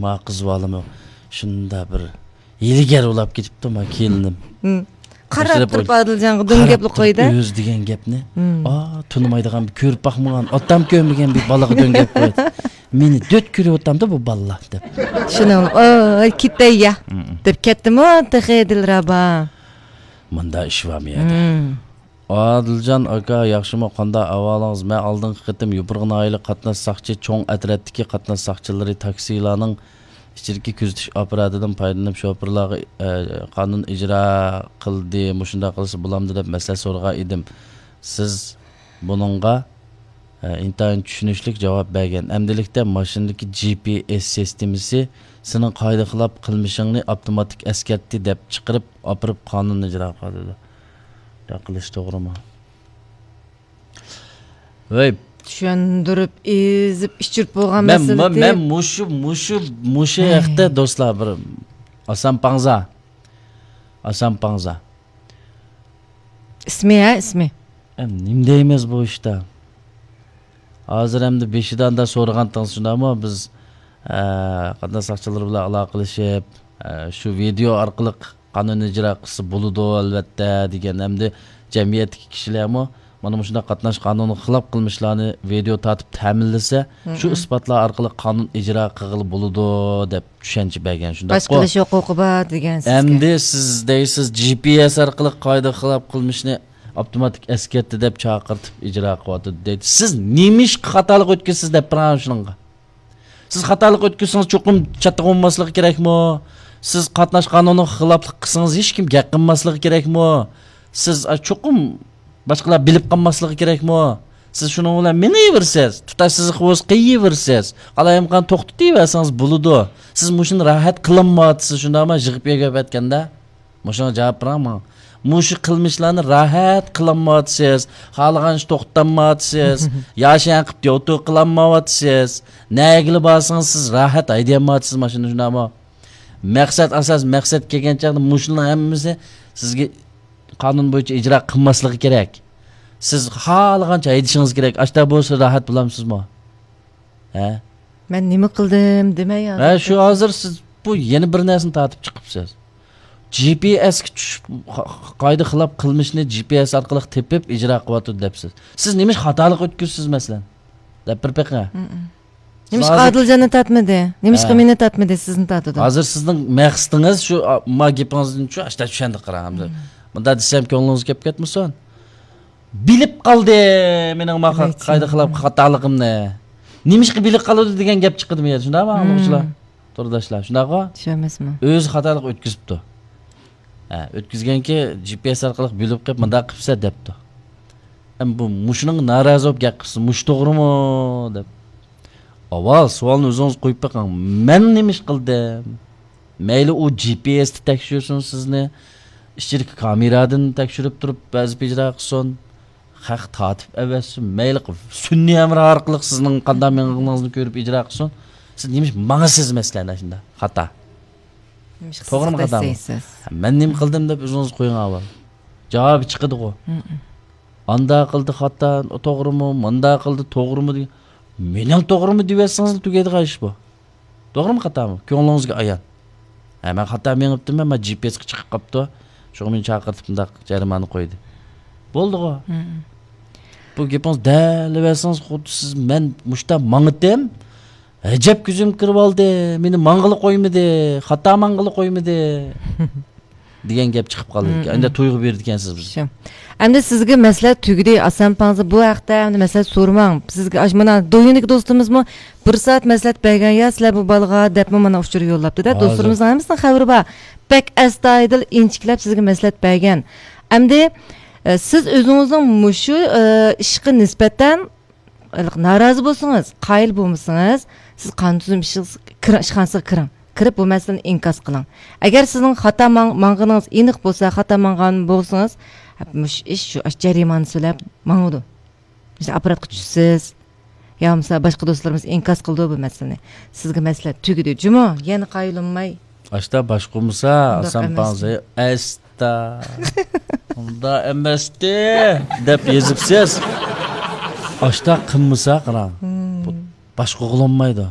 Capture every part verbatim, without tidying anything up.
ما قىز بالىمۇ شۇنداق بىر ھىيلىگەر بولاپ كېتىپتۇ، ما كېلىنىم. ھىم. قاراپ تۇرۇپ ئادىلجانغا دۈم گەپلا قويدى. ئۆزى دېگەن گەپنى. ھىم. ئا، تونۇمايدىغان، بىر كۆرۈپ باقمىغان، ئاتام كۆرمىگەن بىر بالىغا دۈم گەپ قويدى. مېنى دۆت كۆرۈۋاتامدۇ بۇ بالىلار دەپ. شۇنىڭ، ئوي، كېتەي يا، ھىم. دەپ كەتتىمۇ تېخى دىلرەبا. مۇندا ئىش بارمۇ يەردە؟ ھىم. ئادىلجان ئاكا، ياخشىمۇ؟ قانداق ئەھۋالىڭىز؟ مەن ئالدىنقى قېتىم يوپۇرغا ناھىيەلىك قاتناش ساقچى، چوڭ ئەترەتتىكى قاتناش ساقچىلىرى تاكسىلارنىڭ ئىچىدىكى كۆزىتىش ئاپپاراتىدىن پايدىلىنىپ، شوپۇرلارغا، ئە، قانۇن ئىجرا قىلدى، مۇشۇنداق قىلسا بولامدۇ دەپ مەسلىھەت سورىغان ئىدىم. سىز بۇنىڭغا، ئە، ئىنتايىن چۈشىنىشلىك جاۋاب بەرگەن. ئەمدىلىكتە ماشىنىدىكى جى پى ئېس سىستېمىسى سېنىڭ قائىدە خىلاپ قىلمىشىڭنى ئاپتوماتىك ئەسكەرتتى دەپ چىقىرىپ ئاپىرىپ قانۇن ئىجرا قىلىدۇ. قىلىش توغرىمۇ؟ ۋەي. چۈشەندۈرۈپ، ئېزىپ، ئىچۈرۈپ بولغان مەن، مەسىلىدى. مەن مۇشۇ، مۇشۇ، مۇشۇ ھەي. ھەقتە دوستلار بىر ئاسان پاڭزا. ئاسان پاڭزا. ئىسمى، ھە، ئىسمى. ئەم، نېمە دەيمىز بۇ ئىشتا؟ ھازىر ئەمدى بېشىدا ئاندا سورىغانتىڭىز شۇنداقمۇ؟ بىز، ئە، قاتناش ساقچىلىرى بىلەن ئالاقىلىشىپ، ئە، شۇ ۋىدېئو ئارقىلىق قانۇن ئىجرا قىلسا بولىدۇ، ئەلۋەتتە، دېگەن. ئەمدى جەمئىيەتتىكى كىشىلەرمۇ مانا مۇشۇنداق قاتناش قانۇنىغا خىلاپ قىلمىشلارنى ۋىدېئو تارتىپ تەمىنلىسە، شۇ ئىسپاتلار ئارقىلىق قانۇن ئىجرا قىلغىلى بولىدۇ، دەپ چۈشەنچە بەرگەن. شۇنداققۇ؟ باشقا قىلىش ھوقۇقى بار دېگەن سىزگە. ئەمدى سىز دەيسىز، جى پى ئېس ئارقىلىق قائىدە خىلاپ قىلمىشنى ئاپتوماتىك ئەسكەرتتى دەپ چاقىرتىپ ئىجرا قىلىۋاتىدۇ دەيدۇ. سىز نېمىشقا خاتالىق ئۆتكۈزىسىز دەپ بېرىڭ شۇنىڭغا. سىز خاتالىق ئۆتكۈزسىڭىز چوقۇم چاتاق بولماسلىقى كېرەكمۇ؟ سىز قاتناش قانۇنىغا خىلاپلىق قىلسىڭىز ھېچكىم گەپ قىلماسلىقى كېرەكمۇ؟ سىز، ئا، چوقۇم باشقىلار بىلىپ قالماسلىقى كېرەكمۇ؟ سىز شۇنىڭ بىلەن مېڭىۋېرىسىز، تۇتاش سىزىقى بولسا قىيىۋېرىسىز، قالايمىقان توختىتىۋەرسىڭىز بولىدۇ. سىز مۇشۇنى راھەت قىلالمايۋاتىسىز، شۇنداقمۇ؟ يىغىپ يۆگەپ ئەتكەندە. مۇشۇڭا جاۋاب بېرىڭ ماڭا. مۇشۇ قىلمىشلارنى راھەت قىلالمايۋاتىسىز، خالىغانچە توختىتالمايۋاتىسىز، ياشىيان قىلىپ يوتۇ قىلالمايۋاتىسىز. نەگىلا بارسىڭىز سىز راھەت ھەيدىيەلمەيۋاتىسىز ماشىنىنى، شۇنداقمۇ؟ مەقسەت ئاساس، مەقسەت كەلگەن چاغدا مۇشۇلارنىڭ ھەممىسى سىزگە قانۇن بويىچە ئىجرا قىلماسلىقى كېرەك. سىز خالىغانچە ھەيدىشىڭىز كېرەك. ئاشتا بولسا راھەت بولامسىزمۇ؟ ھە؟ مەن نېمە قىلدىم دېمەي ھە، ھازىر شۇ كەتسىڭىز. ھازىر سىز بۇ يەنە بىر نەرسىنى تارتىپ چىقىپسىز. جى پى ئېسكە چۈشۈپ، قا-، قايدا خىلاپ قىلمىشنى جى پى ئېس ئارقىلىق تېپىپ ئىجرا قىلىۋاتىدۇ دەپسىز. سىز نېمىشقا خاتالىق ئۆتكۈزىسىز، مەسىلەن؟ دەپ بىر بېقىڭ. ھىم. نېمىشقا ھازىر ئادىلجاننى تارتمىدى؟ نېمىشقا ھە. مېنى تارتمىدى، سىزنى تارتىدۇ؟ ھازىر سىزنىڭ مەقسىتىڭىز شۇ، ئا، ما گېپىڭىزدىن شۇ، ئاشتا چۈشەندۇق، قاراڭ. ھىم. مۇنداق دېسەم كۆڭلىڭىز كەپ كەتمىسۇن. بىلىپ قالدى مېنىڭ ما-، قايدا خىلاپ خاتالىقىمنى. نېمىشقا بىلىپ قالىدۇ دېگەن گەپ چىقىدۇ بۇ يەردە، شۇنداقمۇ، ھىم. ئاڭلىغۇچىلار، تورداشلار، شۇنداقغۇ؟ شۇ ئەمەسمۇ؟ ئۆزى خاتالىق ئۆتكۈزۈپتۇ. ھە، ئۆتكۈزگەنكى جى پى ئېس ئارقىلىق بۆلۈپ قويۇپ، مۇنداق قىپسە دەپتۇ. ئەم، بۇ مۇشۇنىڭغا نارازى بولۇپ گەپ قىپسىز، مۇشۇ توغرىمۇ؟ دەپ. ئاۋۋال سوئالنى ئۆزىڭىز قويۇپ بېقىڭ، مەن نېمە ئىش قىلدىم؟ مەيلى ئۇ جى پى ئېستا تەكشۈرسۇن سىزنى، ئىچىدىكى كامېرادىن تەكشۈرۈپ تۇرۇپ ۋەزىپە ئىجرا قىلسۇن، خەق تارتىپ ئەۋەتسۇن، مەيلى سۈنئىي ھەمراھ ئارقىلىق سىزنىڭ قانداق مېڭىڭىزنى كۆرۈپ ئىجرا قىلسۇن، سىز نېمىش ماڭىسىز مەسىلەن شۇنداق خاتا؟ نېمىشقا توغرىمۇ سىز خاتامۇ؟ دەيسىز؟ مەن نېمە قىلدىم دەپ ئۆزىڭىز قويۇڭ ئاۋۋال. جاۋابى چىقىدىغۇ. ھىم. ئاندا قىلدى خاتا، توغرىمۇ، ماندا قىلدى توغرىمۇ دېگەن. مېنىڭ توغرىمۇ دېيىۋەتسىڭىزلا تۈگەيدىغان ئىش بۇ. توغرىمۇ خاتامۇ؟ كۆڭلىڭىزگە ئايان. ھە، مەن خاتا مېڭىپتىمەن، مەن جى پى ئېسقا چىقىپ قاپتۇ. شۇڭا مېنى چاقىرتىپ مۇنداق جەرىمانە قويدى. بولدىغۇ. ھىم. بۇ گېپىڭىز دەلىۋەرسىڭىز، خۇددى سىز مەن مۇشتا ماڭىتىم. ئەجەب كۆزۈم كىرىۋالدى، مېنى ماڭغىلى قويمىدى، خاتا ماڭغىلى قويمىدى. دېگەن گەپ چىقىپ قالىدىكەن. مم، ئەمدى مم. تۇيغۇ بېرىدىكەنسىز بىزگە. شۇ. ئەمدى سىزگە مەسلىھەت تۈگىدى، ئاسان پاڭزا بۇ ھەقتە ئەمدى مەسلىھەت سورىماڭ. سىزگە ئاش-، مانا دويۇندىكى دوستىمىزمۇ بىر سائەت مەسلىھەت بەرگەن، يا سىلەر بۇ بالىغا دەپمۇ مانا ئۇچۇر يوللاپتۇ-دە. ھازىر. دوستلىرىمىزنىڭ ھەممىسىنىڭ خەۋىرى بار. بەك ئەستايىدىل، ئىنچىكىلەپ سىزگە مەسلىھەت بەرگەن. ئەمدى، ئە، سىز ئۆزىڭىزنىڭ مۇشۇ، ئە، ئىشقا نىسبەتەن ھېلىقى نارازى بولسىڭىز، قايىل بولمىسىڭىز، سىز قانۇن تۈزۈم ئىشىغا كىرىڭ، ئىشخانىسىغا كىرىڭ. كىرىپ بۇ مەسىلىنى ئىنكاس قىلىڭ. ئەگەر سىزنىڭ خاتا ماڭ-، ماڭغىنىڭىز ئېنىق بولسا، خاتا ماڭغان بولسىڭىز، مۇشۇ ئىش شۇ ئاش جەرىمانىسى بىلەن ماڭىدۇ. مۇشۇ ئاپپاراتقا چۈشىسىز. يا بولمىسا باشقا دوستلىرىمىز ئىنكاس قىلىدۇ بۇ مەسىلىنى. سىزگە مەسلىھەت تۈگىدى. جۇمۇ، يەنە قايىل بولماي. ئاشتا باش قومۇسا، ئاسان پاڭزا، ئەس-، ئاشتا ئۇنداق ئەمەستى دەپ يېزىپسىز. ئاشتا قىلمىسا قاراڭ. مم. بۇ باش قوغلانمايدۇ.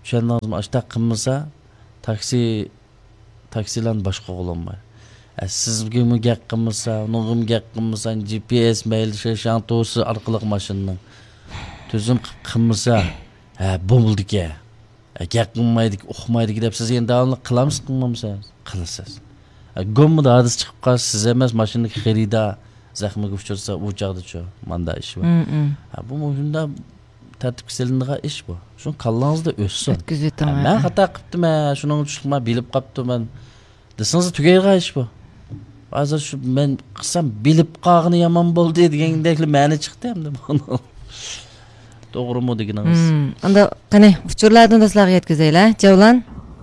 چۈشەندىڭىزمۇ؟ ئاشتاق قىلمىسا، تاكسى، تاكسىلارنى باشقۇرغىلى بولماي. ئە، سىزگىمۇ گەپ قىلمىسا، ئۇنىڭغىمۇ گەپ قىلمىسا، جي پي ئېس مەيلى، شى شياڭتوسى ئارقىلىق ماشىنىنىڭ تۈزۈم قىلىپ قىلمىسا، ھە، بولمىدىكەن. ئە، گەپ قىلمايدىكى، ئۇقمايدىكى دەپ سىز يەنە داۋاملىق قىلامسىز، قىلمامسىز؟ قىلىسىز. ئە، گوممىدا ھادىسە چىقىپ قالسا، سىز ئەمەس، ماشىنىدىكى خېرىدار زەخمىگە ئۇچرىسا، ئۇ چاغدىچۇ؟ ماندا ئىش بار. مم، مم. ھە، بۇ مۇشۇنداق تەرتىپكە سېلىنىدىغان ئىش بۇ. شۇ كاللاڭىزدا ئۆتسۇن. ئۆتكۈزۈۋېتىڭ، ھە، مەن ھە. خاتا قىپتىمەن، شۇنىڭ ئۈچۈن مەن بىلىپ قاپتىمەن دېسىڭىز تۈگەيدىغان ئىش بۇ. ھازىر شۇ مەن قىلسام بىلىپ قالغىنى يامان بولدى دېگەندەكلا مەنە چىقتى ئەمدى بۇنىڭ. توغرىمۇ دېگىنىڭىز؟ مم. ئەمدى قېنى، ئۇچۇرلاردىن دوستلارغا يەتكۈزەيلى. جەۋلان؟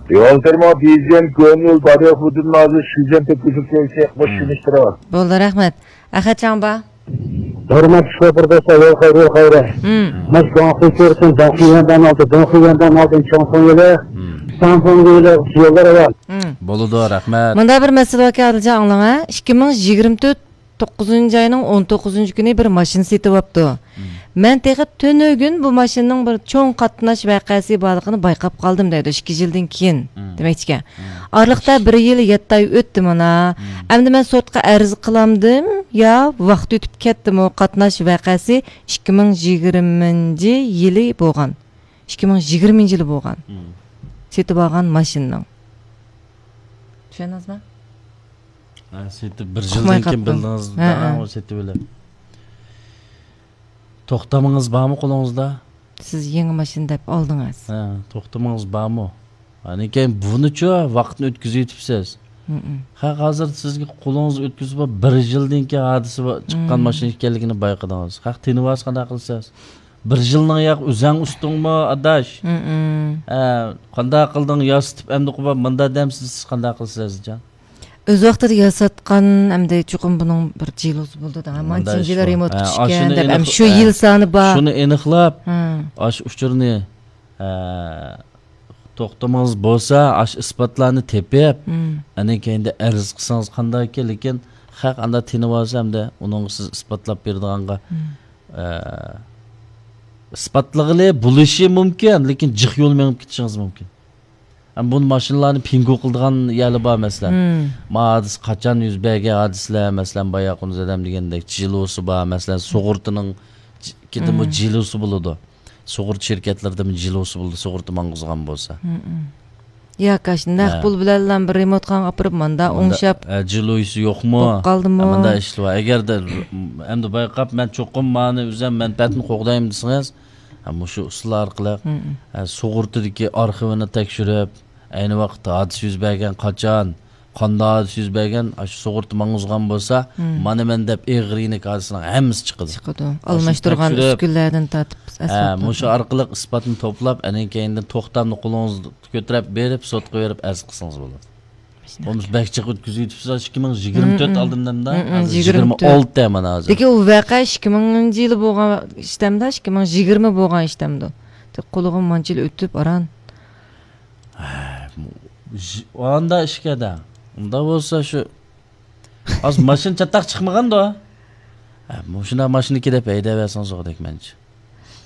يول تېرمو بىزىم كۆڭۈل باريا خۇدۇن نازى شىجەن تۆكۈزۈپ كەلسەك، بۇ مم. شىنىشتۇرۇۋال. بولدى، رەھمەت. ئەخەت چاڭبا؟ ھۆرمەتلىك شوپۇر دوستلار، يول خەير، يول خەير. مم. ماش داڭخۇي كۆرسۇن، داڭخۇي ياندان ئالدى، داڭخۇي ياندان ئالدى، چاڭفېڭ يولى، مم. شاڭفېڭ يولى، يوللار ئاۋام. مم. بولىدۇ، رەھمەت. مۇندا بىر مەسىلە باركەن، ئادىلجان، ئاڭلاڭ، ھە. ئىككى مىڭ يىگىرمە تۆت توققۇزىنچى ئاينىڭ ئون توققۇزىنچى كۈنى بىر ماشىنا سېتىۋاپتۇ. مم. مەن تېخى تۈنۈگۈن بۇ ماشىنىنىڭ بىر چوڭ قاتناش ۋەقەسى بارلىقىنى بايقاپ قالدىم دەيدۇ، ئىككى يىلدىن كېيىن. مم. دېمەكچىكەن. مم. ئارىلىقتا بىر يىل يەتتە ئاي ئۆتتى مانا. مم. ئەمدى مەن سوتقا ئەرز قىلامدىم يا ۋاقىت ئۆتۈپ كەتتىمۇ؟ قاتناش ۋەقەسى ئىككى مىڭ يىگىرمىنچى يىلى بولغان. ئىككى مىڭ يىگىرمىنچى يىلى بولغان. مم. سېتىپ ئالغان ماشىنىنىڭ. چۈشەندىڭىزمۇ؟ ھە، سېتىپ بىر يىلدىن كېيىن بىلدىڭىز، ھە، ھە. سېتىۋېلىپ. توختىمىڭىز بارمۇ قولىڭىزدا؟ سىز يېڭى ماشىنا دەپ ئالدىڭىز. ھە، توختىمىڭىز بارمۇ؟ ئاندىن كېيىن بۇنىچۇ ۋاقىتنى ئۆتكۈزۈۋېتىپسىز. مم. خەق ھازىر سىزگە قولىڭىزدا ئۆتكۈزۈپ، بىر يىلدىن كېيىن ھادىسە چىققان مم. ماشىنا ئىكەنلىكىنى بايقىدىڭىز. خەق تىنىۋالسا قانداق قىلىسىز؟ بىر يىلنىڭ ياق ئۆزەڭ ئۈستۈڭمۇ، ئاداش؟ مم. ھە، قانداق قىلدىڭ، ياسىتىپ ئەمدى قويۇپ، مۇنداق دەمسىز، سىز قانداق قىلىسىز، ئەزىزجان؟ ئۆز ۋاقتىدا ياساتقان، ئەمدى چوقۇم بۇنىڭ بىر جىلوسى بولىدۇ دەڭ. مانچە يىللار رېمونت كۈتۈشكەن دەپ، ئەمدى شۇ يىل سانى بار. شۇنى ئېنىقلاپ، ھە. ئاشۇ ئۇچۇرنى، ھە، توختىمىڭىز بولسا، ئاشۇ ئىسپاتلارنى تېپىپ، مم. ئاندىن كېيىندە ئەرز قىلسىڭىز قانداككى، لېكىن خەق ئاندا تىنىۋالسا، ئەمدى ئۇنىڭغا سىز ئىسپاتلاپ بېرىدىغانغا، مم. ئە، ئىسپاتلىغىلى بولۇشى مۇمكىن، لېكىن جىق يول مېڭىپ كېتىشىڭىز مۇمكىن. ھەم بۇ ماشىنىلارنى پىنگو قىلىدىغان يەرلەر بار، مەسىلەن. مم. ما ھادىسە قاچان يۈز بەرگەن ھادىسىلەر، مەسىلەن، بايا قۇنۇز ئادەم دېگەندەك جىلوسى بار، مەسىلەن، سۇغۇرتىنىڭ ج-، كىدىمۇ مم. جىلوسى بولىدۇ. سۇغۇرتا شىركەتلىرىدىمۇ جىلوسى بولىدۇ، سۇغۇرتا ماڭغۇزغان بولسا. مم، مم. ياكى ئاشۇ نەق ھە. پۇل بىلەنلا بىر رېمونتخانىغا ئاپىرىپ، ماندا ماندا، ئوڭشاپ ھە، جىلوسى يوقمۇ؟ بولۇپ قالدىمۇ؟ ھە، ماندا ئىشلار بار. ئەگەردە ئەمدى بايقاپ، مەن چوقۇم مانى ئۆزۈم مەنپەئەتنى قوغدايمەن دېسىڭىز، ھە، مۇشۇ ئۇسۇل ئارقىلىق، مم، مم. ھە، سۇغۇرتىدىكى ئارخىۋىنى تەكشۈرۈپ، ئەينى ۋاقىتتا ھادىسە يۈز بەرگەن قاچان، قانداق ھادىسە يۈز بەرگەن، ئاشۇ سۇغۇرتا ماڭغۇزغان بولسا، مم. مانا مەن دەپ ئېغىر يېنىك ھادىسىنىڭ ھەممىسى چىقىدۇ. چىقىدۇ. ئاشۇنى ئالماشتۇرغان تەكشۈرۈپ، ئۈسكۈنىلەردىن تارتىپ، ھە، ئەسۋاب مۇشۇ ئارقىلىق ئىسپاتنى توپلاپ، ئاندىن كېيىندىن توختامنى قولىڭىزدا كۆتۈرۈپ بېرىپ، سوتقا بېرىپ ئەرز قىلسىڭىز بولىدۇ. بولمىسا بەك جىق ئۆتكۈزۈۋېتىپسىز، ئىككى مىڭ يىگىرمە تۆت مم، مم. ئالدىم دەمدە، مم، مم، ھازىر يىگىرمە تۆت. يىگىرمە ئالتە مانا ھازىر. لېكىن ئۇ ۋەقە ئىككى مىڭىنچى يىلى بولغان ئىشتەمدە، ئىككى مىڭ يىگىرمە بولغان ئىشتەمدۇ؟ قولىغا مانچە يىل ئۆتۈپ ئاران. ھە، ئاندا ئىشكەدە. ئۇندا بولسا شۇ ھازىر ماشىنا چاتاق چىقمىغاندۇ؟ ھە، مۇشۇنداق ماشىنىكى دەپ ھەيدەۋەرسىڭىز ئۇغدەك مەنچە.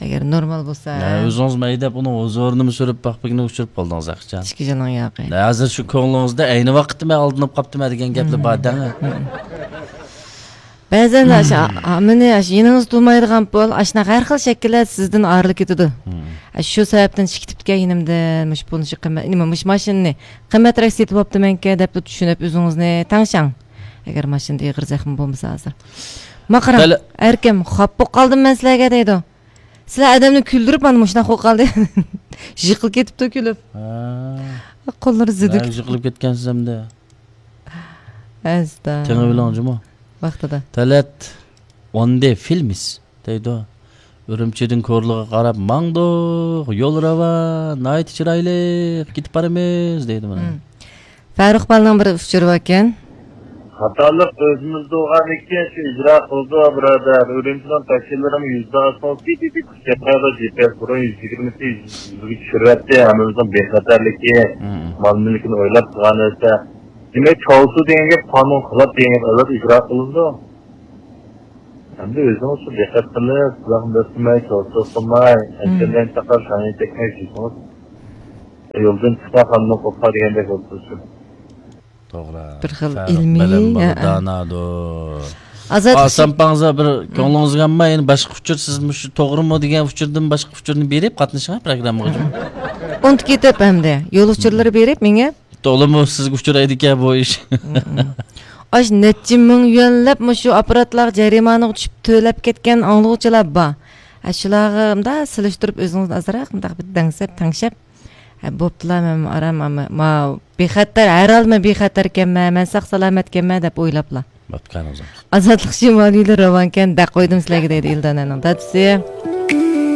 ئەگەر نورمال بولسا. ھە، ئۆزىڭىزمۇ ھەيدەپ، ئۇنىڭ ھۇزۇرىنىمۇ سۈرۈپ باقپىكىنى ئۇچۇرۇپ قالدىڭىز ئەخچان. ئىككى يىلنىڭ ياقى. ھە، ھازىر شۇ كۆڭلىڭىزدە ئەينى ۋاقىتتا مەن ئالدىنىپ قاپتىمەن دېگەن گەپلەر بار دەڭ. بەزەن ئاشۇ، ئا-، مېنى ئاشۇ يېنىڭىزدا تۇرمايدىغان پۇل، ئاشۇنداق ھەر خىل شەكىللەر سىزدىن ئايرىلىپ كېتىدۇ. مم. ئاشۇ شۇ سەۋەبتىن چىقىپ كەتكەن يېنىمدىن، مۇشۇ پۇلنى شۇ قىممەت، نېمە، مۇشۇ ماشىنىنى قىممەترەك سېتىۋاپتىمەنكەن دەپلا چۈشىنىپ ئۆزىڭىزنى تەڭشەڭ. ئەگەر ماشىنىدا ئېغىر زەخمە بولمىسا ھازىر. ما قاراڭ، بەلى. ئەركەم، خاپا بولۇپ قالدىم مەن سىلەرگە دەيدۇ. سىلەر ئادەمنى كۈلدۈرۈپ مانا مۇشۇنداق بولۇپ قالدى. يىقىلىپ كېتىپتۇ كۈلۈپ. ھە. قوللىرى زىدىك. يىقىلىپ كەتكەنسىز ئەمدى. ئەستا. تېڭىۋېلىڭ جۇمۇ. ۋاقتىدا. تەلەت ئون دى فىلمىس دەيدۇ. ئۈرۈمچىدىن كورلىغا قاراپ ماڭدۇق، يول راۋان، ناھايىتى چىرايلىق، كېتىپ بارىمىز دەيدۇ مانا. مم. فەرۇق بالىنىڭ بىر ئۇچۇرى باركەن. خاتالىق ئۆزىمىزدە بولغاندىكىن شۇ ئىجرا قىلىدۇ، بۇرادەر. ئۈرۈمچىنىڭ تاكسىلىرىمۇ يۈزدە ئاسفالت پىت پىت پىت كەتمەيدۇ، جىپىيەس بۇرۇن يۈز يىگىرمىسى يۈزگە چۈشۈرۈۋەتتى، ھەممىمىزنىڭ بىخەتەرلىكى، مم. مال مۈلكىنى ئويلاپ قىلغان نەرسە. دېمەك، چاۋسۇ دېگەن گەپ قانۇنغا خىلاپ دېگەن گەپ، ئەلۋەتتە، ئىجرا قىلىنىدۇ. ئەمدى ئۆزىڭىز شۇ دىققەت قىلىپ، سىلەرنى دەسسىمەي، چاۋسۇ قىلماي، مم. ئەنچۈرمەي چاقار شاڭيى تەگمەي كېتىڭىز. يولدىن چىقسا خاننى قوپار دېگەندەك بولۇپ تۇرسۇن. توغرا. بىر خىل ئىلمىي، بىلىم بالا، ھە. دانادۇر. ئازادلىق ئاسان پاڭزا بىر كۆڭلىڭىزگە ئالماي، يەنە باشقا ئۇچۇر، سىز مۇشۇ توغرىمۇ دېگەن ئۇچۇردىن باشقا ئۇچۇرنى بېرىپ قاتنىشىڭ پروگراممىغا. ئۇنتۇپ كېتىپ ئەمدى يول ئۇچۇرلىرى بېرىپ مېڭە. تولىمۇ سىزگە ئۇچرايدىكەن بۇ ئىش. ئاش نەچچە مىڭ يۈەنلەپ مۇشۇ ئاپپاراتلارغا جەرىمانىغا چۈشۈپ تۆلەپ كەتكەن ئاڭلىغۇچىلار بار. ھە، شۇلارغا مۇنداق سېلىشتۇرۇپ ئۆزىڭىزنى ئازراق مۇنداق بىر دەڭسەپ، تەڭشەپ، ھە، بوپتۇلا، مەن ئارام، ئەمما ما بىخەتەر، ھەر ھالدا مەن بىخەتەركەنمەن، مەن ساق سالامەتكەنمەن دەپ ئويلاپلا. بوپتۇكەن ئۆزۈڭ. ئازادلىق شىمالىيلىرى راۋانكەن، دەق قويدۇم سىلەرگە دەيدۇ ئىلدانەنىڭ دادىسى.